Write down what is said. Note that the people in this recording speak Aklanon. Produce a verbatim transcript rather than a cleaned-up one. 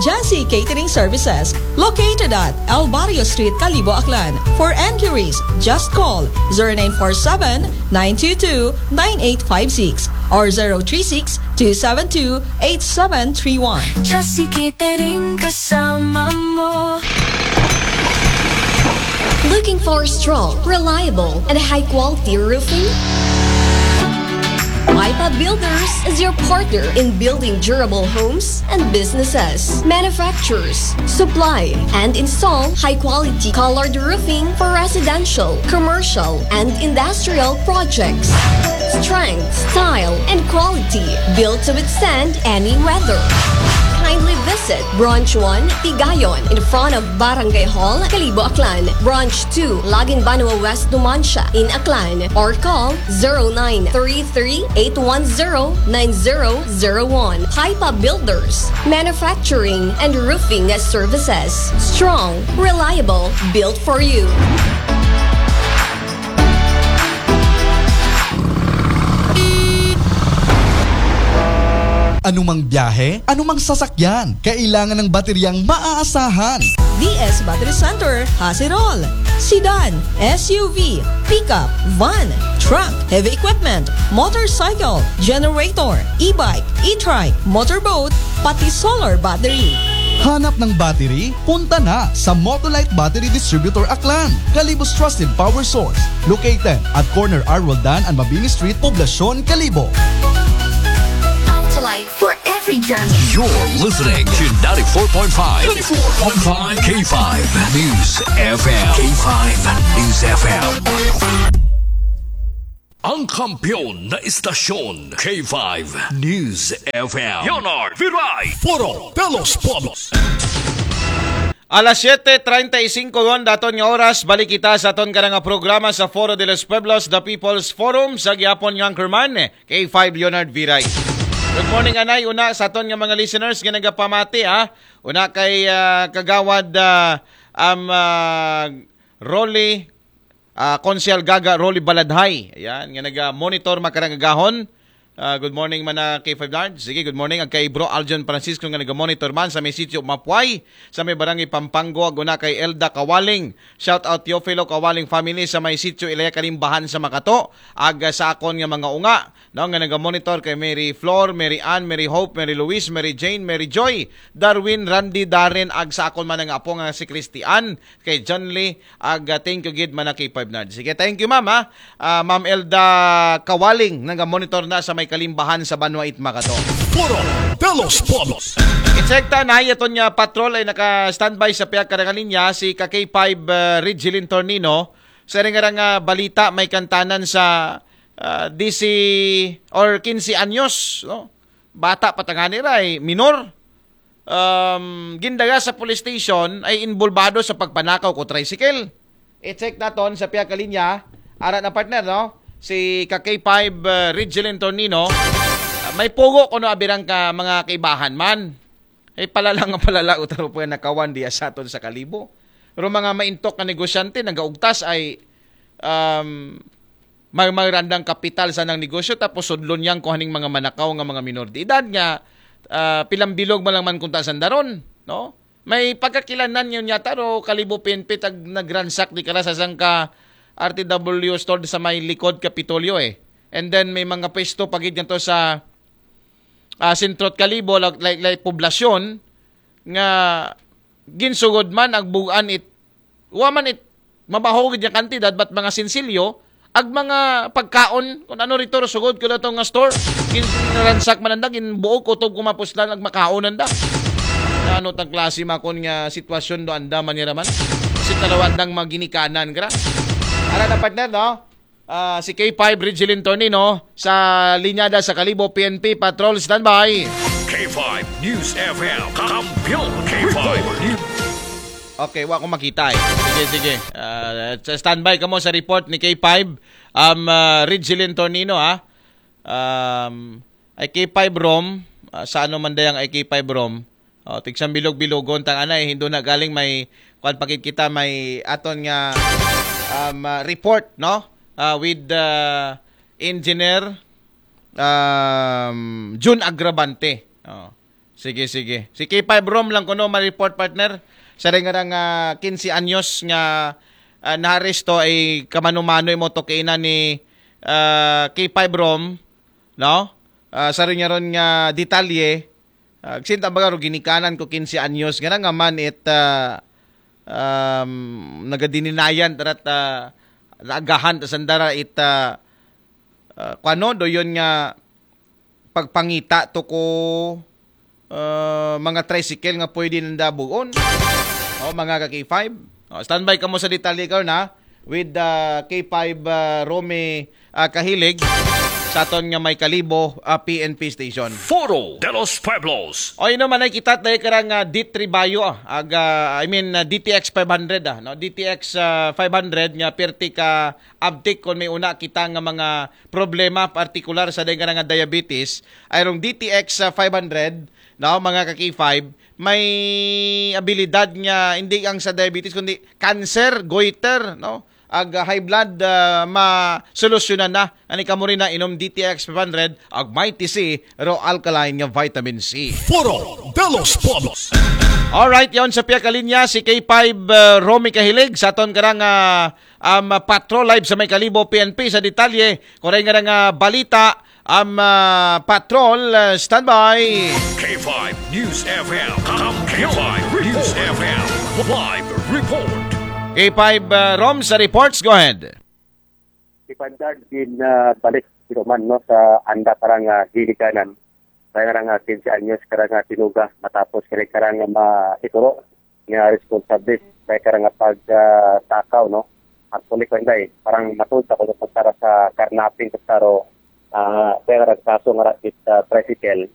Jesse Catering Services, located at El Barrio Street, Kalibo, Aklan. For enquiries, just call zero nine four seven, nine two two, nine eight five six or zero three six, two seven two, eight seven three one. Jesse Catering, kasama mo. Looking for strong, reliable, and high-quality roofing? Paipa Builders is your partner in building durable homes and businesses. Manufactures, supply, and install high-quality colored roofing for residential, commercial, and industrial projects. Strength, style, and quality built to withstand any weather. Kindly visit Branch one, Tigayon, in front of Barangay Hall, Kalibo, Aklan. Branch two, Lagin Banwa West, Numancia, in Aklan, or call zero nine three three, eight one zero, nine zero zero one. Paipa Builders, manufacturing and roofing services. Strong, reliable, built for you. Anumang biyahe, anumang sasakyan, kailangan ng bateryang maaasahan. D S Battery Center has it all. Sedan, S U V, pickup, van, truck, heavy equipment, motorcycle, generator, e-bike, e-trike, motorboat, pati solar battery. Hanap ng battery? Punta na sa Motolite Battery Distributor Aklan, Kalibo's trusted power source. Located at corner R. Roldan and Mabini Street, Poblacion, Kalibo. Autolite for every journey. You're listening to ninety-four point five, ninety-four point five K five News F M. K five News F M. Ang kampiyon na istasyon, K five News F M. Leonard Viray. Foro de los Pueblos. Alas siyete treinta y cinco gon daton nga oras, balik kita sa aton karang programa sa Foro de los Pueblos, The People's Forum, sa gihapon nga Anchorman, K five Leonard Viray. Good morning, anay, una sa aton nga mga listeners nga nagapamati, ha. Una kay, ah, Kagawad, ah, am, ah, Rolly, ah, Konsehal Gaga Rolly Baladhay. Ayan, nga naga-monitor makarang agahon. Ah, good morning man na K five Large. Sige, good morning. Ag kay Bro Aljon Francisco nga naga-monitor man sa may sitio Mapuay, sa may barangay Pampanggo. Ag una kay Elda Kawaling. Shout out Teofilo Kawaling family sa may sitio Ilaya Kalimbahan sa Makato. Ag, ah, sa akon nga mga unga, no, nga naga-monitor kay Mary Flor, Mary Ann, Mary Hope, Mary Louise, Mary Jane, Mary Joy, Darwin, Randy, Darren, ag sa akon man nga apo nga si Christian, kay John Lee, ag, ah, thank you gid man na K five Nard. Sige, thank you, ma'am, ha. Ah, Ma'am Elda Kawaling, naga-monitor na sa may Kalimbahan sa Banwa it Makato. Foro de los Pueblos. I-check ta na, aton nga patrol ay naka-standby sa pihak karang linya, si ka K five, ah, Ridgeline Tornino. Sa ring arang, ah, balita, may kantanan sa, ah, dise or kinse anyos, no? Bata pa tangani ra, eh, minor. Um, gindaga sa police station ay involbado sa pagpanakaw ko tricycle. I-check naton sa pihak linya, ara na, partner, no? Si ka K five, uh, Ridgeline Tornino, uh, may pugo kuno abirang ka mga kaibahan man. Ay palala nga palala utaro po yan nakawan diya sa aton sa Kalibo. Pero mga maintok nga negosyante, nagaugtas ay, um, may, may randang kapital sa nang negosyo, tapos sudlon niyang kuhaning mga manakaw nga mga minor de edad nga, ah, pilang bilog man lang man kunta sandaron, no? May pagkakilanan yun yata, ro, Kalibo P N P, tag nagransak di kara sa sangka R T W store sa may likod Kapitolyo, eh. And then may mga pwesto pagid ngadto sa, ah, sentro't Kalibo, like, like, like, poblasyon, nga ginsugod man ag bugan it, wa man it mabaho gid nga kantidad, but mga sinsilyo, ag mga pagkaon, kung ano rito, sugod ko daw nga store, ginransak man anda, ginbuog kutob kumapuslan, ag makaon anda. Ano tang klase makon nga sitwasyon do anda man nira man? Kasi talawandang maginikanan, gra. Ara na, partner, no? Ah, si K five Ridgeline Tornino sa linyada sa Kalibo P N P Patrol, standby. K five News F M, kampiyon K five News. Okay, wa ko makita, eh. Sige, sige. Ah, sa standby kamo sa report ni K five, um, ah, Ridgeline Tornino, ha. Um, ay K five Rom, ah, sa ano man dayang ay K five Rom. Oh, tigsambilog-bilogon tang anay, hindo na galing may, kwan, pakit kita, may aton nga, um, ah, report, no? Ah, with, ah, Engineer, um, Jun Agravante. Oh. Sige, sige. Si K five Rom lang kuno ma-report, partner. Sa rin nga nga quince anyos nga ah, naaresto ay kamano-mano imo to kaina ni ah, K five Rom, no? Ah, sa rin nga ron nga detalye, ah, sinta baga ro ginikanan ko quince anyos nga nga man it ah, um, nagadininayan tarat ah, naagahan ta sandara it ah, ah, kuano do yun nga pagpangita to ko ah, mga tricycle nga pwede nanda bugon. O, mga ka K five. O, standby kamo sa detalye karon na with ah, K five ah, Romy ah, Kahilig sa aton nga may Kalibo ah, P N P station. Foro de los Pueblos. O, ino man ay kita tayo karang ah, D three Bayo, ah, aga, I mean, ah, D T X five hundred, ah, no? D T X ah, five hundred nga pirti ka abtik kon may una kita nga mga problema, partikular sa dahil nga diabetes, ay rong D T X ah, five hundred, no, mga ka K five, may abilidad nga hindi ang sa diabetes kundi cancer, goiter, no? Ag ah, high blood ah, masolusyonan na. Ani kamo rin na inom D T X five hundred ag Mighty C, raw alkaline nga vitamin C. Foro de los Pueblos. Alright, yon sa piya ka linya si K five uh, Romy Kahilig sa aton karang uh, um, patrol live sa may Kalibo P N P sa detalye. Kuray nga nga balita, um, uh, patrol, uh, standby. K five News F M. K five News F M. Live report. K five uh, Rom sa reports, go ahead. Si Pandard din uh, balik sino man no sa anda karang uh, ginikanan. Kaya karang uh, quince anyos karang uh, tinuga matapos kaya karang uh, maituro nga responsible kaya karang uh, pag uh, takaw no. Actually kaya parang matulta ko sa para sa karnaping sa taro uh, kaya karang kaso nga rakit uh, tricycle